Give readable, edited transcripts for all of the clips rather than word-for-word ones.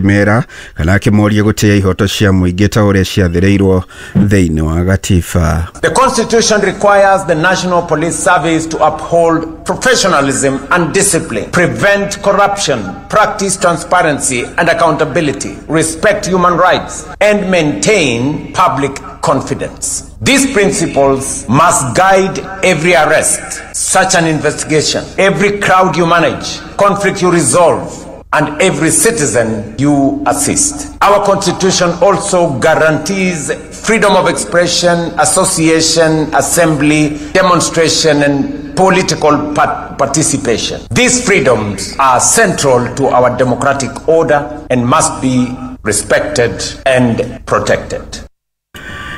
Akĩmera kana akĩmoria gũtĩĩa ihoto cia mũingĩ ta ũrĩa ciathĩrĩirwo thĩinĩ wa gatiba. The Constitution requires the National Police Service to uphold professionalism and discipline, prevent corruption, practice transparency and accountability, respect human rights, and maintain public confidence. These principles must guide every arrest, such an investigation, every crowd you manage, conflict you resolve, and every citizen you assist. Our Constitution also guarantees freedom of expression, association, assembly, demonstration, and political participation. These freedoms are central to our democratic order and must be respected and protected.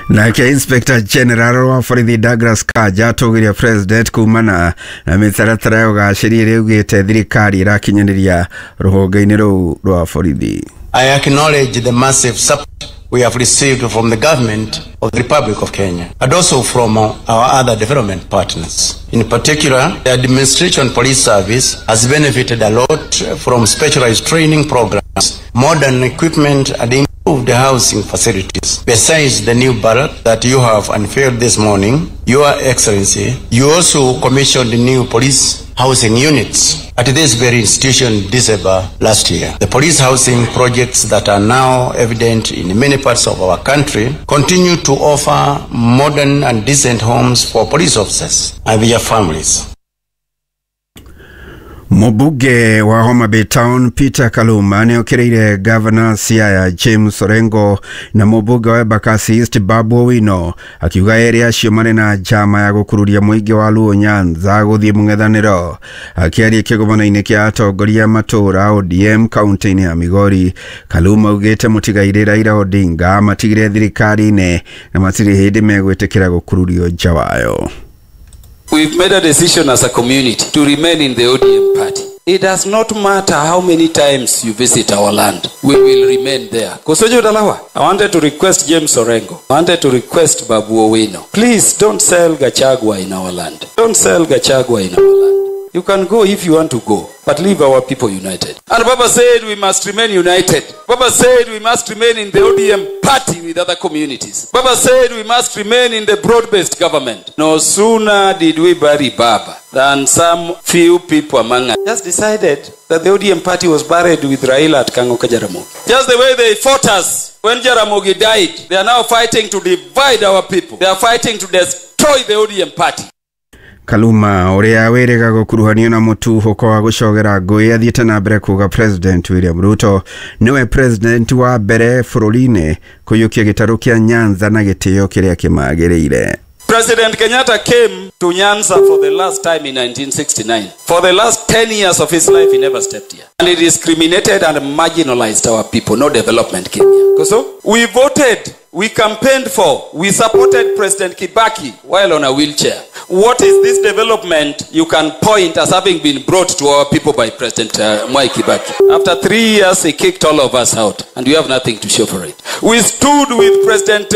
Nake Inspector General wa borithi Douglas Kanja atũgĩria President kumana na mĩtaratara ya ũgacĩri ĩrĩa augĩte thirikari ĩrakinyanĩria rũhonge-inĩ rũu rwa borithi. I acknowledge the massive support we have received from the government of the Republic of Kenya and also from our other development partners. In particular, the Administration Police Service has benefited a lot from specialized training programs, modern equipment and improved housing facilities. Besides the new barrack that you have unveiled this morning, Your Excellency, you also commissioned new police housing units at this very institution in December last year. The police housing projects that are now evident in many parts of our country continue to offer modern and decent homes for police officers and their families. Mũmbunge wa Homa Bay Town Peter Kaluma nĩ okĩrĩire Gavana Siaya James Orengo na mũmbunge wa Embakasi East Babu Owino, akiuga erĩ acio marĩ na njama ya gũkururia mũingĩ wa Luo Nyanza gũthiĩ mũng'ethanĩro. Akĩaria kĩgomano-inĩ kĩa atongoria matũũra ODM kaunti-inĩ ya Migori, Kaluma augĩte mũtigairĩ Raila Odinga matigire thirikari-inĩ na matirĩ hĩndĩ megwĩtĩkĩra gũkururio nja wayo. We've made a decision as a community to remain in the ODM party. It does not matter how many times you visit our land, we will remain there. Kosojo Dalawa, I wanted to request James Orengo. I wanted to request Babu Owino. Please don't sell Gachagua in our land. Don't sell Gachagua in our land. You can go if you want to go, but leave our people united. And Baba said we must remain united. Baba said we must remain in the ODM party with other communities. Baba said we must remain in the broad-based government. No sooner did we bury Baba than some few people among us just decided that the ODM party was buried with Raila at Kango Jaramogi. Just the way they fought us when Jaramogi died, they are now fighting to divide our people. They are fighting to destroy the ODM party. Kaluma ũrĩa wĩrĩga gũkuruhanio na mũtuhũko wa gũcogera ngũĩ athiĩte na mbere kuga President William Ruto nĩwe president wa mbere bũrũri-inĩ kũiyũkia gĩtarũ kĩa Nyanza na gĩtĩo kĩrĩa kĩmagĩrĩire. President Kenyatta came to Nyanza for the last time in 1969. For the last 10 years of his life, he never stepped here. And he discriminated and marginalized our people. No development came here. So we voted, we campaigned for, we supported President Kibaki while on a wheelchair. What is this development you can point as having been brought to our people by President Mwai Kibaki? After 3 years, he kicked all of us out, and we have nothing to show for it. We stood with President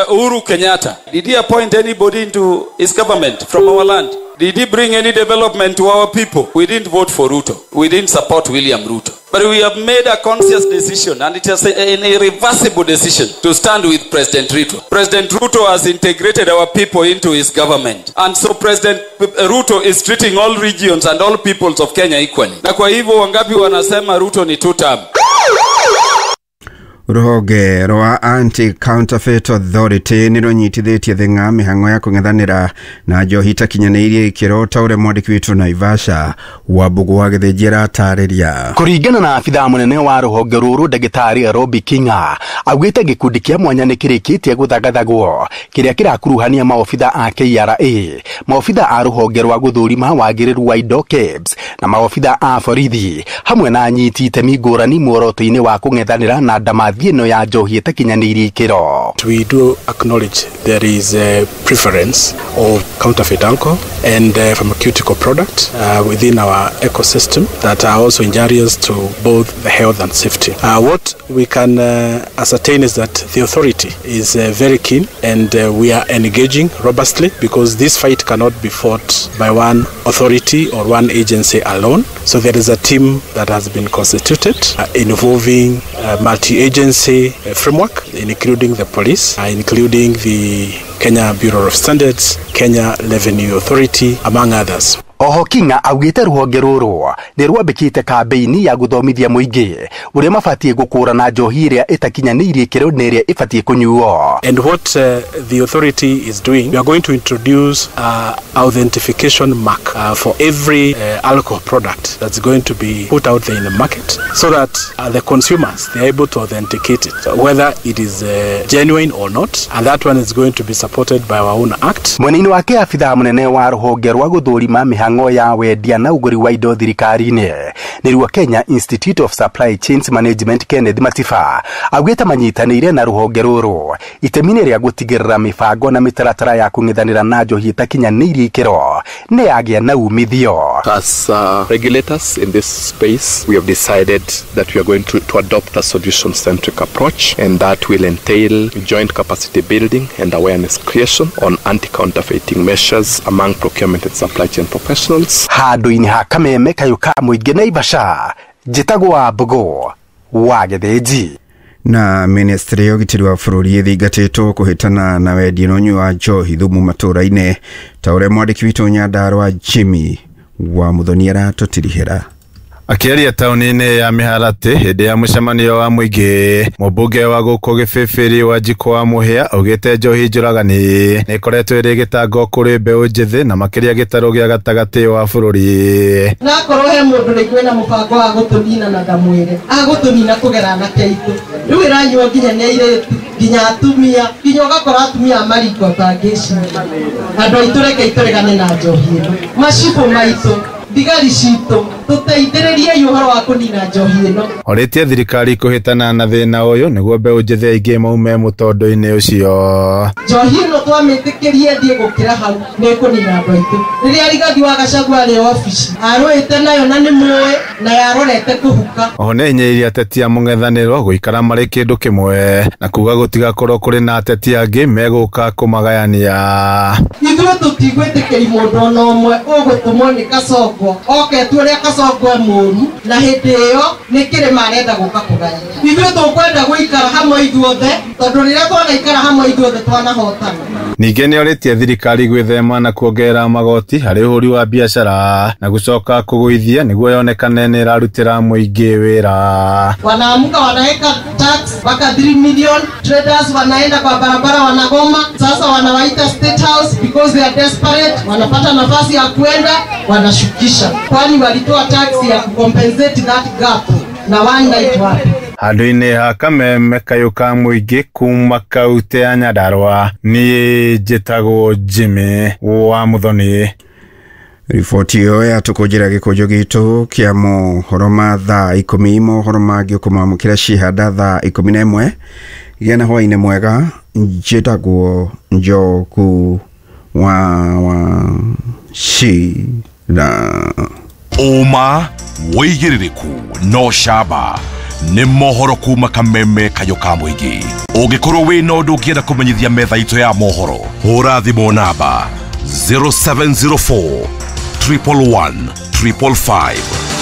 Uhuru Kenyatta. Did he appoint anybody into his government from our land? Did he bring any development to our people? We didn't vote for Ruto. We didn't support William Ruto. But we have made a conscious decision, and it is an irreversible decision, to stand with President Ruto. President Ruto has integrated our people into his government. And so President Ruto is treating all regions and all peoples of Kenya equally. Na kwa hivyo wangapi wanasema Ruto ni two-term? Rũhonge rwa Anti-Counterfeit Authority nĩ rũnyitithĩtie thing'a mĩhang'o ya kũng'ethanĩra na njohi itakinyanĩirie ikĩro ta ũrĩa mwandĩki witũ Naivasha Wambũgũ wa Gĩthĩnji aratarĩria. Kũringana na abithaa mũnene wa rũhonge rũrũ ndagĩtarĩ Robi Kinga augĩte gĩkundi kĩa mwanya nĩ kĩrĩkĩtie gũthagathagwo kĩrĩa kĩrakuruhania maobitha a KRA, maobitha a rũhonge rwa gũthũrima wagĩrĩru wa indo KEBS na maobitha a borithi hamwe na anyiti itemi ngũrani muoroto-inĩ wa kũng'ethanĩra na ndamathi ĩno ya njohi ĩtakinyanĩirie ikĩro. We do acknowledge there is a preference of counterfeit alcohol and pharmaceutical product within our ecosystem that are also injurious to both the health and safety. What we can ascertain is that the authority is very keen, and we are engaging robustly, because this fight cannot be fought by one authority or one agency alone. So there is a team that has been constituted involving multi-agency framework, including the police, including the Kenya Bureau of Standards, Kenya Revenue Authority, among others. Oho Kinga augite ruhonge ruru ni rwambikite kambeini ya guthomithia muingi uria mabatie gukurana njohi iria itakinyaniirie ikiro na iria ibatie kunyuo. And what the authority is doing, we are going to introduce authentication mark for every alcohol product that's going to be put out there in the market, so that the consumers, they are able to authenticate it, whether it is genuine or not, and that one is going to be supported by our own act. Mwenini wake afithaa munene wa ruhonge rwa guthurima mihango ya wendia na uguri wa indo thirikari-inĩ nĩruo Kenya Institute of Supply Chains Management Kenneth Matiba augĩte manyitanĩire na ruhonge rũrũ itemi-inĩ rĩa gũtigĩrĩra mĩbango na mĩtaratara ya kũng'ethanĩra na njohi ĩtakinyanĩirie ikĩro nĩ yagĩa na umithio. As regulators in this space, we have decided that we are going to adopt a solution-centric approach, and that will entail joint capacity building and awareness creation on anti-counterfeiting measures among procurement and supply chain professionals. Handũ-inĩ ha kameme kayũ ka mũingĩ Naivasha, njĩtagwo Wambũgũ wa Gĩthĩnji. Na ministry ya ũgitĩri wa bũrũri ĩthingatĩtwo kũhĩtana na wendia na ũnyui wa njohi thumu matũũra-inĩ, ta ũrĩa mwandĩki witũ Nyandarua Jimmy wa Muthoni aratũtirihĩra. Akĩaria taũni-inĩ ya Mĩharatĩ hĩndĩ ya mũcemanio wa mũingĩ, mũmbunge wa gũkũ Gĩbĩbĩri Wanjikũ wa Mũhĩa augĩte njohi njũragani nĩ ĩkoretwo ĩrĩ gĩtango kũrĩ mbeũ njĩthĩ na makĩria gĩtarũ gĩa gatagatĩ wa bũrũri. Na akorwo he mũndũ rĩngĩ wĩna mũbango wa gũtũnina na ndamwĩre agũtũnina kũgera anake aitũ, rĩu ĩranyuo nginya nĩ airĩtu, nginya atumia, nginya ũgakora atumia a mariko atangĩciria. Andũ aitũ reke tũregane na njohi ĩno, macibũ maitũ, thigari citũ, tũteithĩrĩriei ũhoro wa kũnina njohi ĩno. Orĩtie thirikari kũhĩtana na thĩna ũyũ nĩguo mbeũ njĩthĩ aingĩ maume mũtondo-inĩ ũcio. Njohi ĩno twamĩtĩkĩrie ĩthiĩ gũkĩra hau nĩ ĩkũnina andũ aitũ. Rĩrĩa Rigathi wa Gachagua arĩ obici arũĩte nayo na nĩ mũĩ na yarorete kũhuka. Oho nĩ ainyĩrĩirie ateti a mũng'ethanĩro gũikara marĩ kĩndũ kĩmwe na kuga gũtigakorwo kũrĩ na ateti angĩ megũka kũmagayania. Ithuĩ tũtigwĩtĩkĩri mũndũ ona ũmwe ũgũtũmwo nĩ Kasongo oke tu ũrĩa Kasongo e mũũru, na hĩndĩ ĩyo nĩ kĩrĩma arenda gũka kũgayania. Ithuĩ tũkwenda gũikara hamwe ithuothe, tondũ rĩrĩa twanaikara hamwe ithuothe twanahotana. Ningĩ nĩorĩtie thirikari gwĩthema na kuongerera magoti harĩ ũhũri wa biacara na gũcoka kũgũithia nĩguo yonekane nĩ ĩrarutĩra mũingĩ wĩra. Wanaamuka wanaweka tax mpaka 3 million, traders wanaenda kwa barabara wanagoma, sasa wanawaita State House because they are desperate, wanapata nafasi ya kuenda wanashukisha, kwani walitoa tax ya kucompensate that gap na one night wapi. Handũ-inĩ ha kameme kayũ ka mũingĩ kuma kaunti ya Nyandarua, niĩ njĩtagwo Jimmy wa Muthoni. Riboti ĩyo yatũkũnjĩra gĩkũnjo gitũ kĩa mohoro ma thaa 10, mohoro mangĩ ũkũmamũkĩra cihanda thaa 11. Gĩa na hwaĩ-inĩ mwega, njĩtagwo Njoku wa Wachira. Ũma wĩigĩrĩrĩku no camba nĩ mohoro kuma kameme kayũ ka mũingĩ. Ũngĩkorwo wĩna ũndũ ũngĩenda kũmenyithia metha itũ ya mohoro, hũra thimũ namba 0704 111 555.